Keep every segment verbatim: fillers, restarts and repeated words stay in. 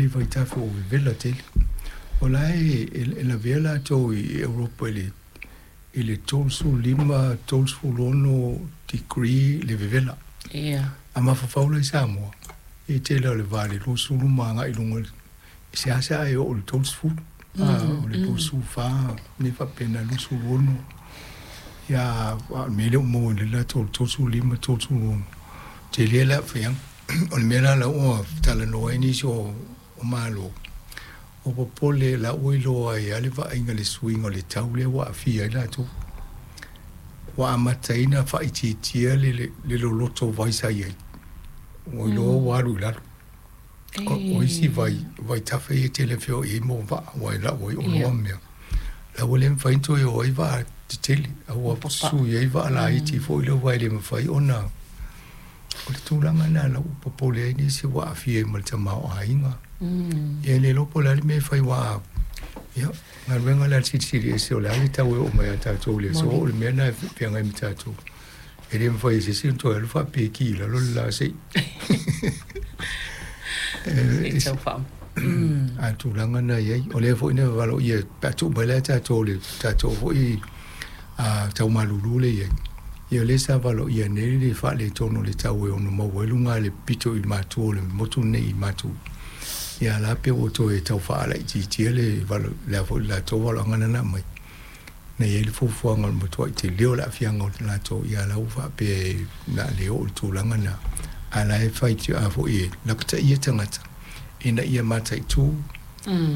le vaitafe o vevela tele. O la e e lavea latou i Europa i le i le tolusefulu lima, tolusefulu ono degree le vevela. Ia. A mafaufau la i Samoa, e tele o le va le luasefulu ma agai i luga i seasea e oo i le tolusefulu. A o le luasefulu fa, mea faapena, luasefulu ono. Ia, a o le mea lea ua maua i le latou le tolusefulu lima, tolusefulu ono, tele le aafiaga. O le mea la la ua talanoa ai nisi o o Malo, o popole la ua iloa ai lava le vaaiga i le suiga o le tau lea ua aafia ai latou. Ua amataina faaitiitia le le le loloto o vai sa i ai. Ua iloa ua alu i lalo. O, o isi vai, vaitafe ia e tele feoai ai mo vaa, aua e lau ai oloa ma mea. La ua le mafai ona toe o ai vaa tetele, a ua sui ai vaa laiti foi lea aua e le mafai ona. O le tulaga lena la ua popole ai nisi ua aafia ai ma le tamaoaiga. Ia e le iloa po o le a le mea e fai aua, ia, galuega la a le Silisili Ese o le a le tau e oo mai ia tatou i le aso, o le mea lena e feagai ma tatou. E le mafai e se isi ona toe alu faapeki i lalo le la se i. A o le tulaga lena e i ai. O lea foi na valoia pe a tuu mai la e tatou le tatou foi a tau malulu lea e i ai, ia o lea sa valoia nei le faaletonu o le tau e ono maua ai luga le pito i matua o le motu lenei i matu. Ia la pe ua toe tau faalaitiitia le valo le a foi le latou valoaga na na aumai. Na i ai le fuafuaga o le matuai tele o le aafiaga o latou, ia la ua faapea e na le oo i le tulaga lena. A la e fai a foi e lapataia tagata ina ia mataitu,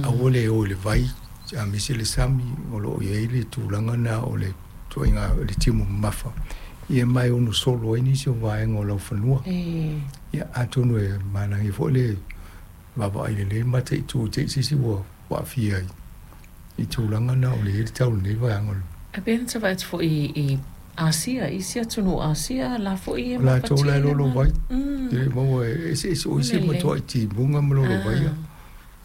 aua le o i le vai, aemaise le sami o lo o i ai le tulaga lena o le ituaiga le timu mamafa, ia ma e ono solo ai nisi o vaega o laufanua. Ia atonu e manaia foi le vaavaai lelei ma mataitu te i se isi ua aafia ai i tulaga na o le i ai le tau i lenei vaega o le. Ae pei ona vaai atu foi i Asia, isi atunuu o Asia la foi e O latou la e mafatia le lolo vai, Mm. e le maua e eseese o isi e Lelei. matuai timuga ma lolo vai. Ah.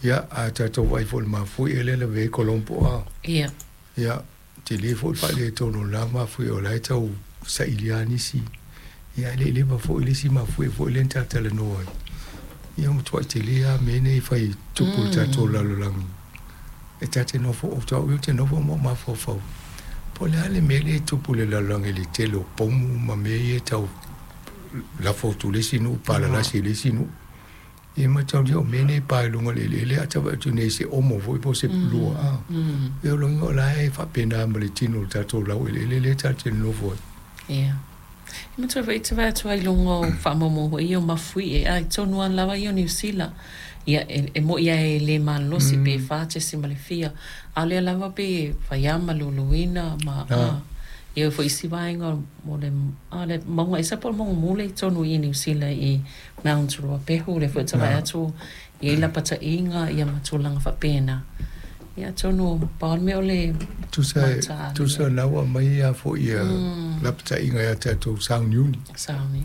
Ia, a tatou vaai foi i le mafuie lea e lavea ai Colombo a. Ia. Ia, tele foi le faaletonu o lena mafuie o la e tau saili lava nisi. Ia, e le i leva foi le isi mafuie foi lea na talatalanoa ai. Ia, ua matuai tele lava mea nei e fai e tupu i le tatou lalolagi. E ta te nofo, o au ia ou te nofo ma ou mafaufau, po o le a le mea lea e tupu i le lalolagi i le tele o pomu ma mea ia e tau lafo atu i le isi nuu, palalasi i le isi nuu. Ia mataulia o mea nei e pa i luga o le eleele a tau atu nei se omo foi po o se pulua a. Ia o lona uiga o la e faapena ma le tino o le tatou laueleele lea tatou te nonofo ai. Ia. E matua foi te vaai atu ai i luga o faamaumauga foi ia o mafuie a i totonu lava lava ia o Niu Sila. Ia e, e moi lava e le malolosi pe fa tesi ma le fia. A o lea lava pe e fai lava ma luluina ma a. Ia foi isi vaega o le a le mauga esa po o le mauga mule i totonu i Niu Sila i Mount Ruapehu lea foi ou te vaai atu i ai lapataiga ia ma tulaga faapena. Ia atonu pau le mea o le Tusa mataali. tusa na ua aumai a foi ia lapataiga ia tatou sauniuni. Sauni.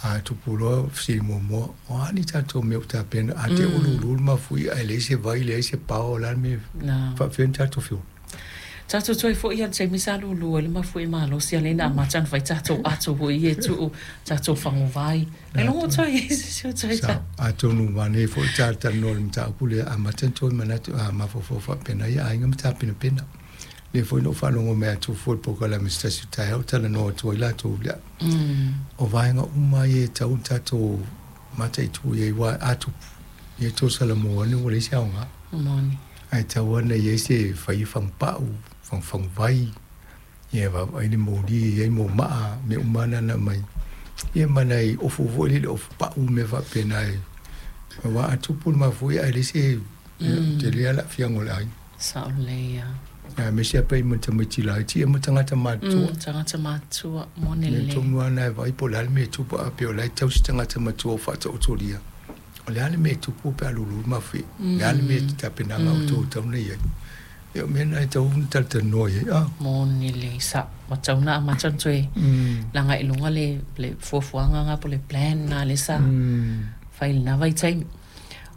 A tupu loa fesili muamua, o a ni tatou mea ua tapena, a te ua lulu le mafuie ae leai se vai, leai se pao, o le a le mea Na. faapefea ona tatou feola? Tatou toe foi lava i le taimi sa lulu ai le mafuie malosi a lea na amata ona fai tatou ato foi ia e tuu tatou faguvai. E logo toe i se o toe Sa, atonu manaia foi le talatalanoa i le mataupu lea, amata ona toe manatu, a mafaufau faapena ia aiga ma tapenapena. Lea foi na ou faalogo mai atu foi i le polokalame se tasi o taeao talanoa atu ai latou lea. O vaega uma ia e tatau ona tatou mataitu i ai aua a tupu, ia tou salamo ane ua leai se aoga. Moni. Ae tatau lava ona i ai se fai fagupau, fagufaguvai, ia vaavaai le moli e i ai momaa, mea uma lava na na aumai. Ia ma nai ofu foi lele, ofu pau ma mea faapena e aua a tupu le mafuie ae leai se tele lava le aafiaga o le aiga. Sao lelei lava. Aemaise lava pe i ma tamaiti laiti ia ma tagata matutua. Mm, tagata matutua, moni Mea lelei. tonu lava na e vaai po o le a le mea e tupu a pei o la e tausi tagata matua o faataotolia. O le a le mea e tupu pe a lulu le mafuie. O le a le mea e tapenaga o outou e tatau ona i ai. Ia o mea na e tatau ona talatalanoa i ai. Ah. Moni lelei, sao. Ua tatau ona amata ona toe laga i luga le, le fuafuaga na po o le plan na lea sa fai i lena vaitaimi.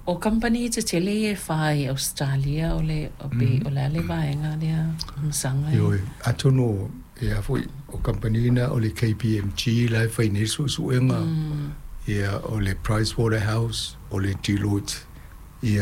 O kamupani tetele ia e fa i Ausetalia, o le, o pe, o le a le vaega lea masaga e? Ioe, atonu e a foi, o kamupani na o le K P M G la e fai nei le suesuega, ia o le Pricewaterhouse, o le Deloitte, ia